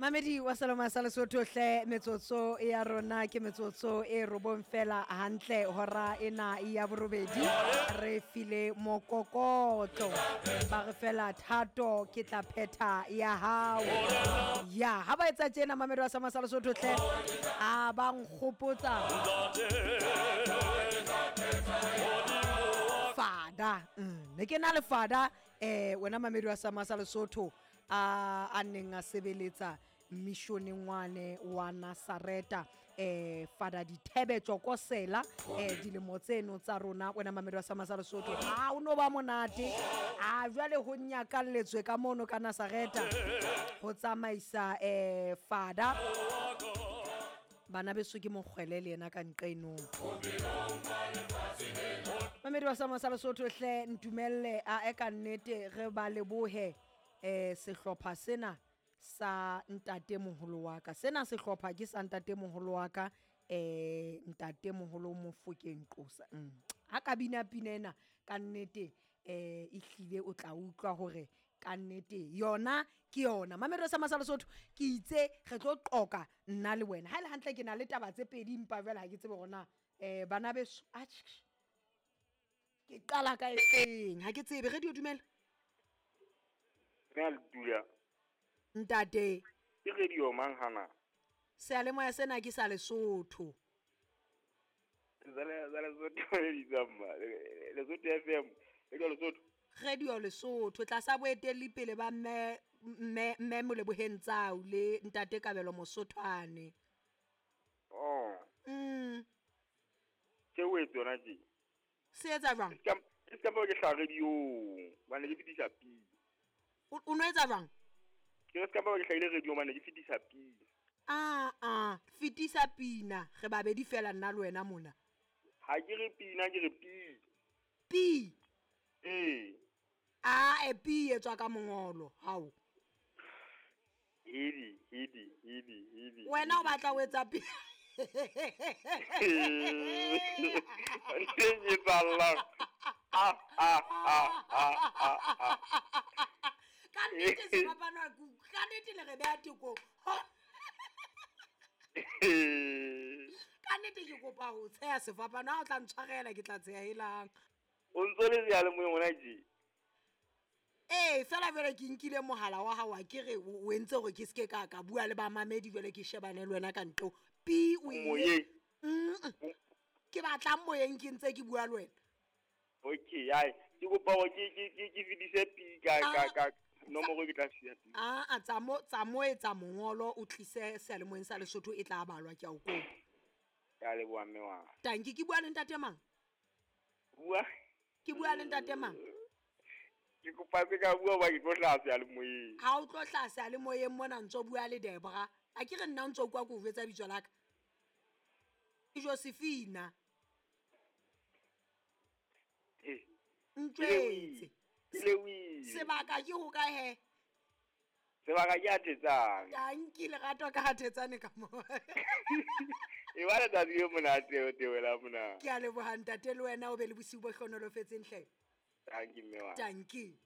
Mamedi wa Saloma sa Lesotho hle, metsotso ya rona ke metsotso e robong fela hantle hora ena ya borobedi. Re file mokokotlo ba re fela thato ke tla phetha ya hao. Ya ha ba etsa tjena, mamedi wa Saloma sa Lesotho hle, a ba nkgopotsa fada. Ne ke na le fada, wena mamedi wa Saloma sa Lesotho, a neng a sebeletsa missioneng wane wa Nazareta, fada Dithebe Tjokosela, dilemo tseno tsa rona, wena mamedi wa Sama sa Lesotho. A o no ba monate a jwale ho nyakalletswe ka mono ka Nazareta ho tsamaisa fada. Bana beso ke mokgwele le yena ka nqenong. Mamedi wa Sama sa Lesotho hle, ntumelle a e ka nnete re ba lebohe sehlopha sena sa ntate moholo wa ka. Sena sehlopha ke sa ntate moholo wa ka, ntate moholo Mofokeng Qosa. Ha ka bina pina ena ka nnete, ehlile o tla utlwa hore ka nnete yona ke yona. Mamedi wa Sama sa Lesotho, ke itse re tlo qoka nna le wena. Ha ele hantle ke na le taba tse pedi, empa jwale ha ke tsebe hore na bana beso, atjhe, ke qala ka efeng, ha ke tsebe. Radio, dumela. Mme a le dula. Ntate. Ke radio mang hana? Seyalemoya sena ke sa Lesotho. Sa Lesotho le bitsang ma? Lesotho FM. Radio Lesotho. Radio Lesotho tlasa boetelli pele ba mme Moleboheng Tsau le ntate Kabelo Mosothwane. Oh. Ke o etse yona tje? Se etsa jwang? E ska ba ke hlaha radio, bane ke fetisa pina. O no etsa jwang? Ke ska ba ke hlahile radio bane ke fetisa pina. Ah, fetisa pina, re babedi fela nna le wena mona. Ha ke re pina, ke re pi. Pi? Ee. Ah, e pi e tswa ka mongolo, hao. Hidi, hidi, hidi, hidi. Wena o batla ho etsa pi? Ke tsallang. Ah, ah, ah, ah, ah, ah. Ka nnete sefapano, ka nnete le re beha tekong. Ka nnete ke kopa ho tsheha sefapano, ha o tla ntshwarela ke tla tsheha helang. O ntso le seyalemoyeng hona tje? Ee, fela jwale ke nkile mohala wa hao, a ke re o entse hore ke seke ka bua le bamamedi, jwale ke shebane le wena ka ntlo. Pi o ile. Moyeng. Ke batlang moyeng ke ntse ke bua le wena. Okay, ai, ke kopa hore ke fetise pi ka nomoro ke tla siya pi. Ah, tsa mo etsa mongolo o tlise seyalemoyeng sa Lesotho e tla balwa, ke a o kopa. Ke a leboha mme wa. Tanki, ke bua le ntate mang? Bua. Ke bua le ntate mang? Ke kopa se ka bua ba ke tlo hlaha seyalemoyeng. Ha o tlo hlaha seyalemoyeng mona ntso bua le Debra. A ke re nna ntso kwa ke o jwetsa bitso la ka. Ke Josephina. Ntjwetse. Sebaka ke ho kae he? Sebaka ke a Thetsane. Tanki lerato ka ha Thetsane ka mo. E ba letsatsi le monate o tewela mona. Ke a leboha ntate le wena o be le bosiu bo hlohonolofetseng hle. Tanki mme wa. Tanki.